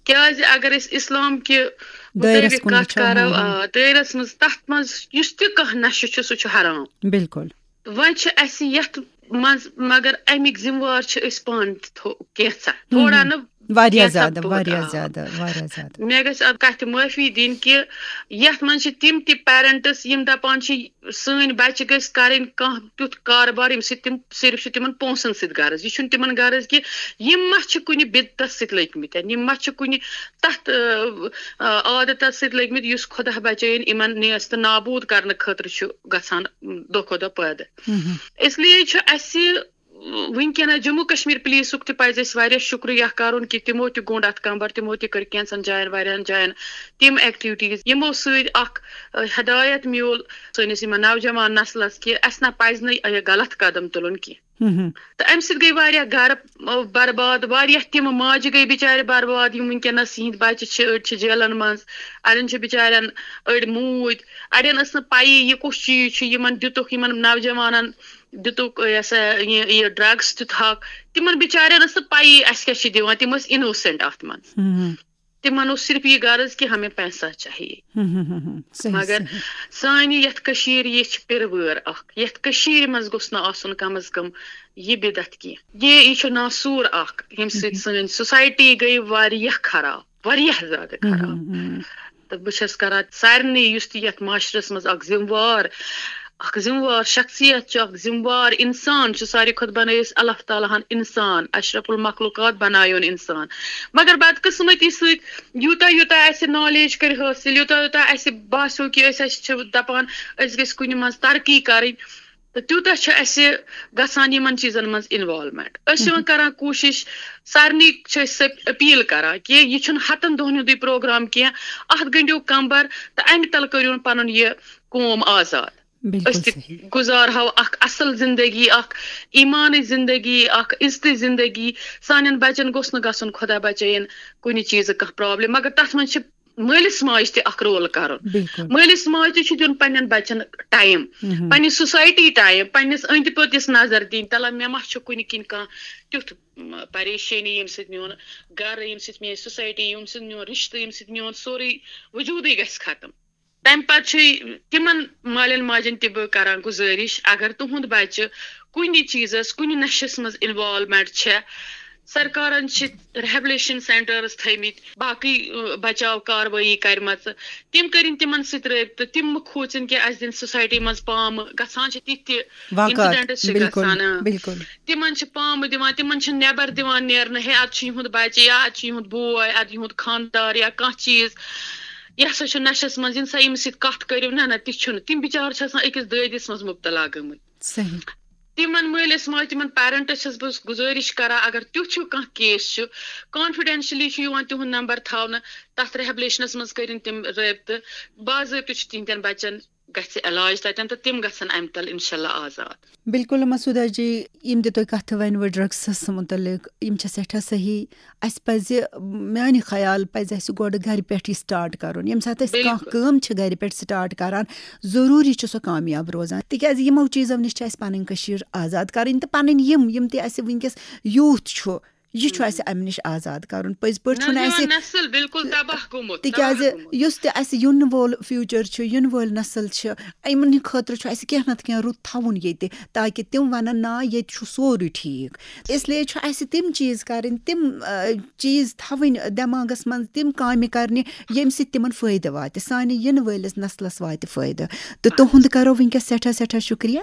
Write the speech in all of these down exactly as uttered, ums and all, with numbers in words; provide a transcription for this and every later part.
کیازِ اگر أسۍ اسلام کہِ دٲیرَس مُطٲبِق کُن کتھ وٕچھو، کرو، ہاں، ہاں۔ آ، دٲیرَس منٛز، تتھ منٛز یُس تہِ کانٛہہ نشہٕ چھُ، سُہ چھُ حرام۔ بِلکُل۔ وۄنۍ چھِ اَسہِ یَتھ منٛز، مگر اَمِکۍ ذِمہٕ وار چھِ أسۍ پانہٕ تہِ تھو-، کینٛژھا، تھوڑا نہٕ، واریاہ کینٛژھا زیادٕ، توتہِ، واریاہ آ۔ زیادٕ، واریاہ زیادٕ۔ مےٚ گژھِ اَتھ کَتھِ معٲفی دِنۍ کہِ یَتھ منٛز چھِ تِم تہِ پیرنٹس یِم دَپان چھِ، سٲنۍ بَچہِ گٔژھۍ کَرٕنۍ کانٛہہ تیُتھ کارٕبار، ییٚمہِ سۭتۍ تِم صرف چھِ تِمن پونٛسن سۭتۍ غرض۔ یہِ چھُنہٕ تِمن غرض کہِ یِم ما چھِ کُنہِ بدعتس سۭتۍ لٔگۍ مٕتۍ، یِم ما چھِ کُنہِ تَتھ، آ، آ، عادتس سۭتۍ لٔگۍ مٕتۍ، یُس خۄدا بچٲیِن یِمن نیست نابوٗد کرنہٕ خٲطرٕ چھُ گژھان، م، دۄہ کھۄتہٕ دۄہ پٲدٕ۔ مہم۔ اس لیے چھُ اَسہِ وٕنکیٚنس جموں کشمیر پولیسُک تہِ پزِ اَسہِ واریاہ شُکریہ کرُن کہِ تِمو تہِ گوٚنٛڈ اَتھ کمبر، تِمو تہِ کٔر کینٛژن جاین، واریاہن جاین تِم ایکٹیویٹیز، یِمو سۭتۍ اکھ، آ، ہدایت میوٗل سٲنِس یِمن نوجوان نسلس کہِ اَسہِ نہ پزِ نہٕ یہِ غلط قدم تُلُن کینٛہہ۔ مہم۔ تہٕ اَمہِ سۭتۍ گٔے واریاہ گرٕ، آ، برباد، واریاہ تِم ماجہِ گٔے بِچارِ برباد، یِم وٕنکیٚنَس یِہِنٛدۍ بَچہِ چھِ، أڑۍ چھِ جیلَن منٛز، اَڑٮ۪ن چھِ بِچارٮ۪ن أڑۍ موٗدۍ، اَڑٮ۪ن ٲس نہٕ پَیی یہِ کُس چیٖز چھُ، یِمَن دِتُکھ، یِمَن نوجوانَن دِتُکھ، یہِ ہسا یہِ، یہِ ڈرٛگٕس تہِ تھَکھ۔ تِمَن بِچارٮ۪ن ٲس نہٕ پَیی اَسہِ کیٛاہ چھِ دِوان، تِم ٲسۍ اِنوسٮ۪نٛٹ اَتھ منٛز۔ ہم، ہم، تِمَن اوس صرف یہِ غرض کہِ ہمیں پیسہ چاہیے۔ ہم، ہم، ہم، ہم۔ صحیح، مگر صحیح۔ سانہِ یَتھ کٔشیٖرِ یہِ چھِ پِرٕ وٲر اَکھ۔ یَتھ کٔشیٖرِ منٛز گوٚژھ نہٕ آسُن کم از کم یہِ بدعت کینٛہہ۔ یہِ، یہِ چھُ ناسوٗر اَکھ، ییٚمہِ سۭتۍ مہم۔ سٲنۍ سوسایٹی گٔے واریاہ خراب، واریاہ زیادٕ خراب۔ مہم، مہم۔ تہٕ بہٕ چھَس کران سارنٕے، یُس تہِ یَتھ معاشرَس منٛز اَکھ ذِمہٕ وار، اَکھ ذِمہٕ وار شخصیت چھُ، اَکھ ذِمہٕ وار اِنسان چھُ، ساروی کھۄتہٕ بَنٲیِس اللہ تعالیٰ ہَن اِنسان، اشرف المخلوقات بَنایون اِنسان۔ مگر بدقٕسمتی سۭتۍ یوٗتاہ یوٗتاہ اَسہِ نالیج کٔرۍ حٲصِل، یوٗتاہ یوٗتاہ اَسہِ باسیو کہِ أسۍ، اَسہِ چھِ دَپان أسۍ گٔژھۍ کُنہِ منٛز ترقی کَرٕنۍ، تہٕ تیوٗتاہ چھُ اَسہِ گژھان یِمَن چیٖزَن منٛز اِنوالومٮ۪نٛٹ۔ أسۍ چھِ وۄنۍ کَران کوٗشِش، سارنٕے چھِ أسۍ سۄ اپیٖل کَران کہِ یہِ چھُنہٕ ہَتَن دۄہَن ہُنٛدُے پروگرام کینٛہہ، اَتھ گٔنٛڈِو کَمبَر تہٕ اَمہِ تَلہٕ کٔرِوُن پَنُن یہِ قوم آزاد۔ بِلکُل أسۍ تہِ صحیح۔ گُزارہو اَکھ اَصٕل زِندگی، اَکھ ایٖمانٕچ زِندگی، اَکھ عزتٕچ زِندگی۔ سانٮ۪ن بَچَن گوٚژھ نہٕ گژھُن، خۄدا بَچٲیِن، کُنہِ چیٖزٕ کانٛہہ پرابلم۔ مگر تَتھ منٛز چھِ مٲلِس ماجہِ تہِ اَکھ رول کَرُن۔ بِلکُل۔ مٲلِس ماجہِ تہِ چھُ دیُن پنٛنٮ۪ن بَچَن ٹایم، مہم۔ پنٛنہِ سوسایٹی ٹایم، پنٛنِس أنٛدۍ پٔتِس نظر دِنۍ، تَلہ مےٚ ما چھُ کُنہِ کِنۍ کانٛہہ تیُتھ، م، پریشٲنی، ییٚمہِ سۭتۍ میون گَرٕ، ییٚمہِ سۭتۍ میٛٲنۍ سوسایٹی، ییٚمہِ سۭتۍ میون رِشتہٕ، ییٚمہِ سۭتۍ میون سورُے وجوٗدٕے گژھِ ختم۔ تَمہِ پَتہٕ چھُ تِمَن مالٮ۪ن ماجٮ۪ن تہِ بہٕ کَران گُزٲرِش، اگر تُہُنٛد بَچہٕ کُنہِ چیٖزَس، کُنہِ نَشَس منٛز اِنوالومٮ۪نٛٹ چھےٚ، سرکارَن چھِ ریہبلیشن سینٹرز تھٲومٕتۍ، باقٕے، ٲ، بچاو کاروٲیی کَرِمَژٕ، تِم کٔرِنۍ تِمَن سۭتۍ رٲبطہٕ، تِم مہٕ کھوژِنۍ کہِ اَسہِ دِن سوسایٹی منٛز پامہٕ۔ گژھان چھِ تِتھۍ تہِ واقعات، incidents چھِ بِلکُل، گژھان، اۭں۔ بِلکُل۔ تِمَن چھِ پامہٕ دِوان، تِمَن چھِ نٮ۪بَر دِوان نیرنہٕ، ہے، اَتہِ چھُ یِہُنٛد بَچہٕ یا اَتہِ چھُ یِہُنٛد بوے، اَتہِ یِہُنٛد خانٛدار یا کانٛہہ چیٖز، یہِ ہسا چھُ نَشَس منٛز، یِن سا ییٚمِس سۭتۍ کَتھ کٔرِو۔ نہ، نہ، تہِ چھُنہٕ۔ تِم بِچارٕ چھِ آسان أکِس دٲدِس منٛز مُبتلا گٔمٕتۍ۔ صحیح۔ تِمن مٲلِس ماجہِ، تِمن پیرنٹس چھَس بہٕ گُزٲرِش کران، اگر تیُتھ ہیوٗ کانٛہہ کیس چھُ، کانفیڈینشلی چھُ یِوان تِہُنٛد نمبر تھاونہٕ، تَتھ ریہبلیشنس منٛز کٔرِن تِم رٲبطہٕ، باضٲبطہٕ چھُ تِہنٛدٮ۪ن بچن گژھِ علاج تَتٮ۪ن تہٕ تِم گژھن اَمہِ تل انشاءاللہ آزاد۔ بِلکُل مسعوٗدہ جی، یِم تہِ تۄہہِ کَتھٕ ؤنوٕ ڈرگسَس مُتعلِق، یِم چھِ سٮ۪ٹھاہ صحیح۔ اَسہِ پَزِ، میٛانہِ خیال پَزِ اَسہِ گۄڈٕ گَرِ پٮ۪ٹھٕے سٹارٹ کَرُن۔ ییٚمہِ ساتہٕ أسۍ کانٛہہ بِلکُل۔ کٲم چھِ گَرِ پٮ۪ٹھ سٹارٹ کَران، ضروٗری چھُ سُہ کامیاب روزان، تِکیٛازِ یِمو چیٖزو نِش چھِ اَسہِ پَنٕنۍ کٔشیٖر آزاد کَرٕنۍ تہٕ پَنٕنۍ یِم، یِم تہِ اَسہِ وٕنکیٚس یوٗتھ چھُ، یہِ چھُ اَسہِ اَمہِ نِش آزاد کَرُن۔ پٔزۍ پٲٹھۍ نہ، چھُنہٕ یُہُنٛد اَسہِ نسل بِلکُل تباہ گوٚمُت، تِکیٛازِ تباہ گوٚمُت۔ یُس تہِ اَسہِ یِنہٕ وول فیوٗچر چھُ، یِنہٕ وٲلۍ نسل چھِ، یِمن ہٕنٛدِ خٲطرٕ چھُ اَسہِ کینٛہہ نتہٕ کینٛہہ رُت تھاوُن ییٚتہِ، تاکہِ تِم وَنن، نا، ییٚتہِ چھُ سورُے ٹھیٖک۔ اس لیے چھُ اَسہِ تِم چیٖز کَرٕنۍ، تِم، آ، چیٖز تھاوٕنۍ دٮ۪ماغس منٛز، تِم کامہِ کَرنہِ، ییٚمہِ سۭتۍ تِمن فٲیدٕ واتہِ، سانہِ یِنہٕ وٲلِس نسلس واتہِ فٲیدٕ۔ تہٕ تُہُنٛد کَرو وٕنکیٚس سٮ۪ٹھاہ، سٮ۪ٹھاہ شُکریہ۔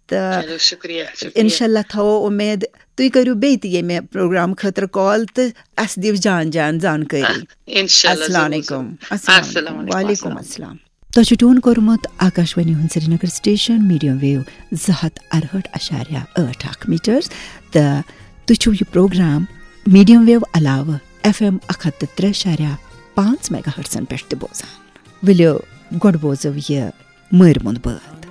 تہٕ چلو، شُکریہ، شُکریہ۔ اِنشاء اللہ تھاوو اُمید، تُہۍ کٔرِو بیٚیہِ تہِ ییٚمہِ پروگرام خٲطرٕ کال تہٕ اَسہِ دِیِو جان جان زانکٲری۔ اِنشاء اللہ، السلام ضروٗر، علیکم۔ ضروٗر۔ السلام علیکم۔ وعلیکم السلام۔ تۄہہِ چھُ ٹیوٗن کوٚرمُت آکاشوانی ہُنٛد سرینگر سٹیشن، میڈیم ویو زٕ ہَتھ اَرہٲٹھ اَشاریہ ٲٹھ اکھ میٖٹرز، تہٕ تُہۍ چھِو یہِ پروگرام میڈیم ویو علاوٕ ایف ایم اَکھ ہَتھ تہٕ ترٛےٚ اَشاریہ پانٛژھ میگا ہرٹزن پٮ۪ٹھ تہِ بوزان۔ ؤلِو، گۄڈٕ بوزو یہِ مٲرۍ مۄنٛد بٲتھ۔